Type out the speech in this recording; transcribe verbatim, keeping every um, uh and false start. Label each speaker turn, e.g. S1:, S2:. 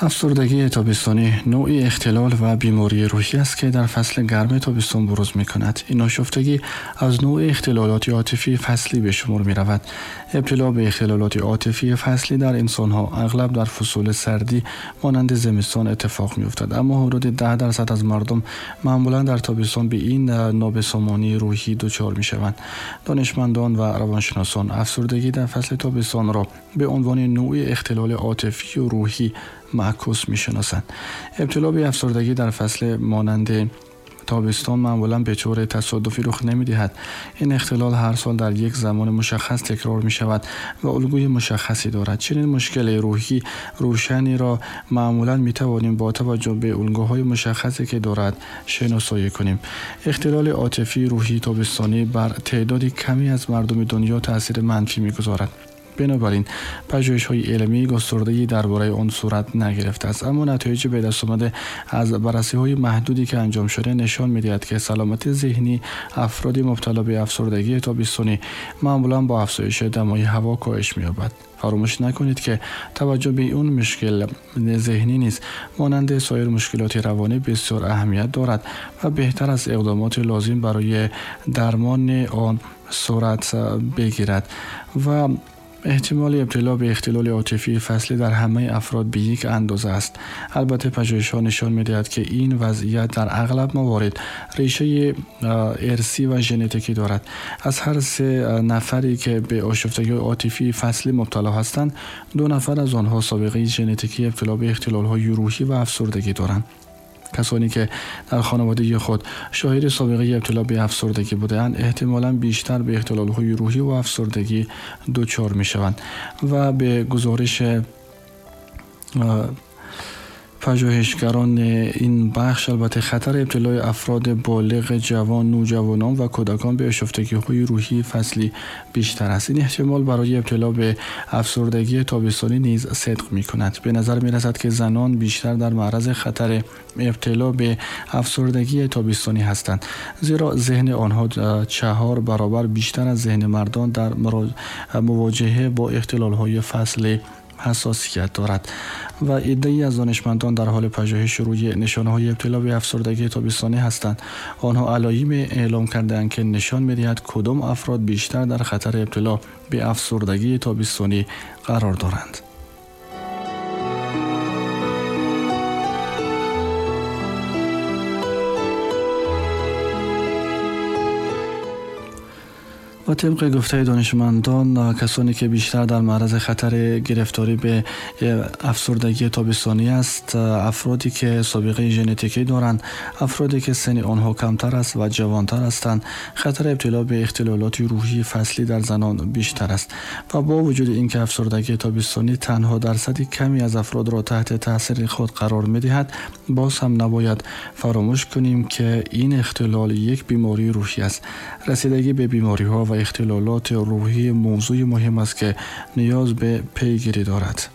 S1: افسردگی تابستانی نوعی اختلال و بیماری روحی است که در فصل گرم تابستان بروز می‌کند. این آشفتگی از نوع اختلالات عاطفی فصلی به شمار می‌رود. ابتلا به اختلالات عاطفی فصلی در انسان‌ها اغلب در فصول سردی مانند زمستان اتفاق می‌افتد، اما حدود ده درصد از مردم معمولاً در تابستان به این نابسامانی روحی دچار می‌شوند. دانشمندان و روانشناسان افسردگی در فصل تابستان را به عنوان نوعی اختلال عاطفی و روحی معکوس می‌شناسند. ابتلا به افسردگی در فصل مانند تابستان معمولاً به طور تصادفی رخ نمی‌دهد. این اختلال هر سال در یک زمان مشخص تکرار می‌شود و الگوی مشخصی دارد. چنین مشکل روحی روشنی را معمولاً می‌توانیم با توجه به الگوهای مشخصی که دارد شناسایی کنیم. اختلال عاطفی روحی تابستانی بر تعداد کمی از مردم دنیا تأثیر منفی می‌گذارد. بنابراین پژوهش‌های علمی گسترده‌ای درباره آن صورت نگرفته است، اما نتایج به دست آمده از بررسی‌های محدودی که انجام شده نشان می‌دهد که سلامت ذهنی افراد مبتلا به افسردگی تابستانی معمولاً با افزایش دمای هوا کاهش می‌یابد. فراموش نکنید که توجه به این مشکل ذهنی نیز مانند سایر مشکلات روانی بسیار اهمیت دارد و بهتر از اقدامات لازم برای درمان آن صورت بگیرد و احتمال ابتلا به اختلال عاطفی فصلی در همه افراد به یک اندازه است. البته پژوهش‌ها نشان می‌دهد که این وضعیت در اغلب موارد ریشه ارثی و ژنتیکی دارد. از هر سه نفری که به آشفتگی عاطفی فصلی مبتلا هستند، دو نفر از آنها سابقه ژنتیکی ابتلا به اختلال‌های روحی و افسردگی دارند. کسانی که در خانواده خود شاهد سابقه ابتلا به افسردگی بودند، احتمالاً بیشتر به اختلال‌های روحی و افسردگی دچار می‌شوند و به گزارش پژوهشگران این بخش البته خطر ابتلای افراد بالغ، جوان، نوجوانان و کودکان به آشفتگی‌های روحی فصلی بیشتر است. این احتمال برای ابتلا به افسردگی تابستانی نیز صدق می‌کند. به نظر می‌رسد که زنان بیشتر در معرض خطر ابتلا به افسردگی تابستانی هستند، زیرا ذهن آنها چهار برابر بیشتر از ذهن مردان در مواجهه با اختلال‌های فصلی حساسیت دارد و عده‌ای از دانشمندان در حال پژوهش روی نشانه‌های ابتلا به افسردگی تابستانی هستند. آنها علائم اعلام کرده‌اند که نشان می‌دهد کدام افراد بیشتر در خطر ابتلا به افسردگی تابستانی قرار دارند. و طبق گفته دانشمندان، کسانی که بیشتر در معرض خطر گرفتاری به افسردگی تابستانی است، افرادی که سابقه ژنتیکی دارند، افرادی که سن آنها کمتر است و جوانتر هستند، خطر ابتلا به اختلالات روحی فصلی در زنان بیشتر است. و با وجود اینکه افسردگی تابستانی تنها درصد کمی از افراد را تحت تاثیر خود قرار می‌دهد، باز هم نباید فراموش کنیم که این اختلال یک بیماری روحی است. رسیدگی به بیماری‌ها و اختلالات روحی موضوع مهم است که نیاز به پیگیری دارد.